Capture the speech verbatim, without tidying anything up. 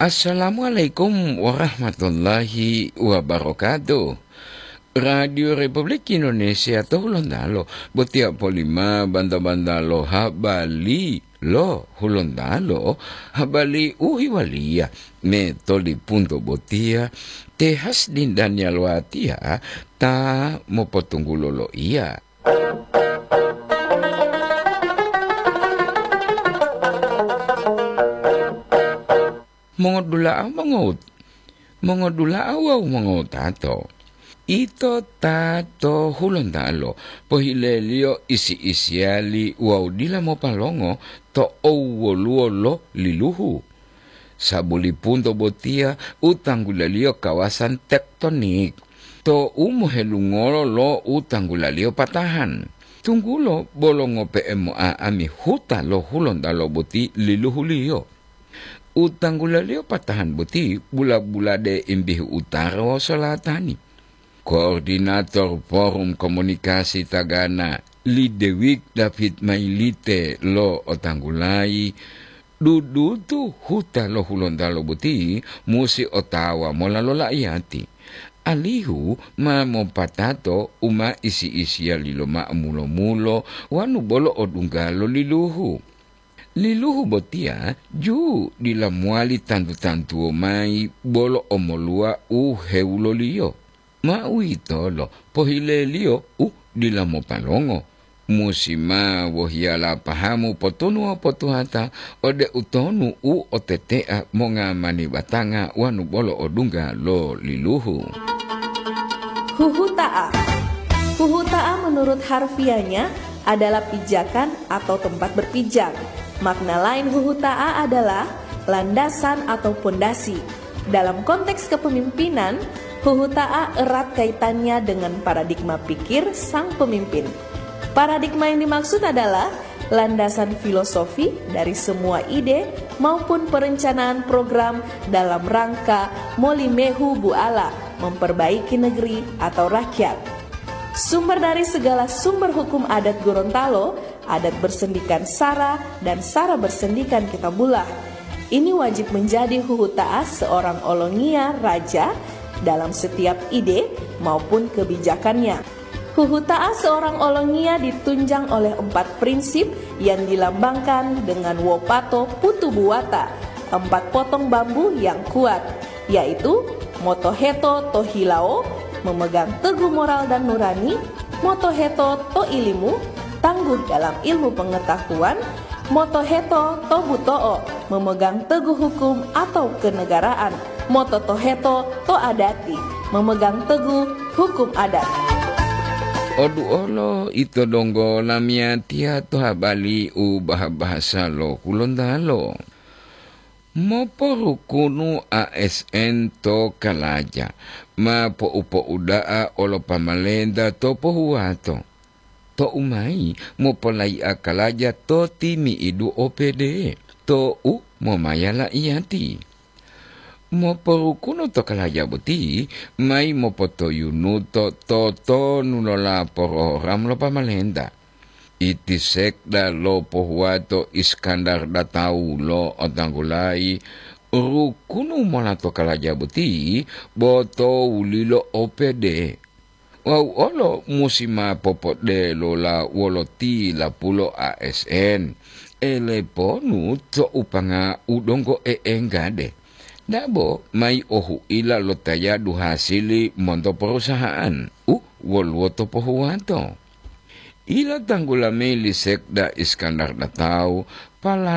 Assalamualaikum warahmatullahi wabarakatuh. Radio Republik Indonesia to Hulontalo, botiya polima banta-banta lo habali lo Hulontalo, habali u hiwaliya me to lipunto botiya, te Hasdin Daniel Watiya ta mopotunggulo lo iya. Mongodula'a mongot-, mongodula'a wawu mongotato. Ito ta to Hulontalo, pohileliyo isi-isiyali wawu dila mopalongo to owwoluwo lo liluhu. Sabulipunto botiya u tanggulaliyo kawasan tektonik, to u mohelungolo lo u tanggulaliyo patahan. Tunggulo bolo ngope'e mo'a'ami huta lo Hulontalo boti liluhuliyo. U tanggulaliyo patahan boti bula-bulade imbihu utara wawu solatani. Koordinator Forum Komunikasi Tagana, Lidewik David Mailite lo otanggulayi, dudutu huta lo Hulontalo boti musi otawa mola lo la'iyati, alihu ma mopatato u ma isi-isiyali lo ma'amulo-mulo wanu bolo odungga lo liluhu. Liluhu botiya ju dila mowali tantu-tantuwo mayi bolo omoluwa u hewuloliyo. Ma uwitolo pohileliyo u dila mopalongo, musi ma wohiyala pahamu potunuwa potuhata ode utonu u otetea monga mani batanga wanu bolo odungga lo liluhu. Huhuta'a. Huhuta'a menurut harfiahnya adalah pijakan atau tempat berpijak. Makna lain huhuta'a adalah landasan atau pondasi. Dalam konteks kepemimpinan, huhuta'a erat kaitannya dengan paradigma pikir sang pemimpin. Paradigma yang dimaksud adalah landasan filosofi dari semua ide maupun perencanaan program dalam rangka molimehu buala memperbaiki negeri atau rakyat. Sumber dari segala sumber hukum adat Gorontalo, adat bersendikan sara dan sara bersendikan kitabullah. Ini wajib menjadi huhuta'a seorang olongiya raja dalam setiap ide maupun kebijakannya. Huhuta'a seorang olongiya ditunjang oleh empat prinsip yang dilambangkan dengan wopato putu buwata, empat potong bambu yang kuat, yaitu motoheto to hilawo, memegang teguh moral dan nurani, motoheto to ilimu, tangguh dalam ilmu pengetahuan, motoheto to buto'o, memegang teguh hukum atau kenegaraan, mototoheto to adati, memegang teguh hukum adat. Oduolo ito donggo lamiyatiya to habali u baha-bahasa lo Hulontalo. Moporukunu A S N to kalaja, ma po'u-po'uda'a olo pamalenta to pohuwato. To'u mayi mopolayi'a kalaja to timi'idu O P D, to'u momaya la'iyati. Moporukunu to kalaja boti mayi mopotoyunuto totonu lo lapororam lo pamalenta. Iti sekda lo pohuwato Iskandar Datau lo otanggulayi rukunu mola to kalaja boti bo to wulilo O P D. Wawu olo musi ma popodelola wolo tilapulo A S N, eleponu to upanga u donggo e'enggade. Dabo mayi ohu'ila lo tayadu hasili monto perusahaan u woluwo to pohuwato. Ila tanggula mayi li Sekda Iskandar Datau, palalu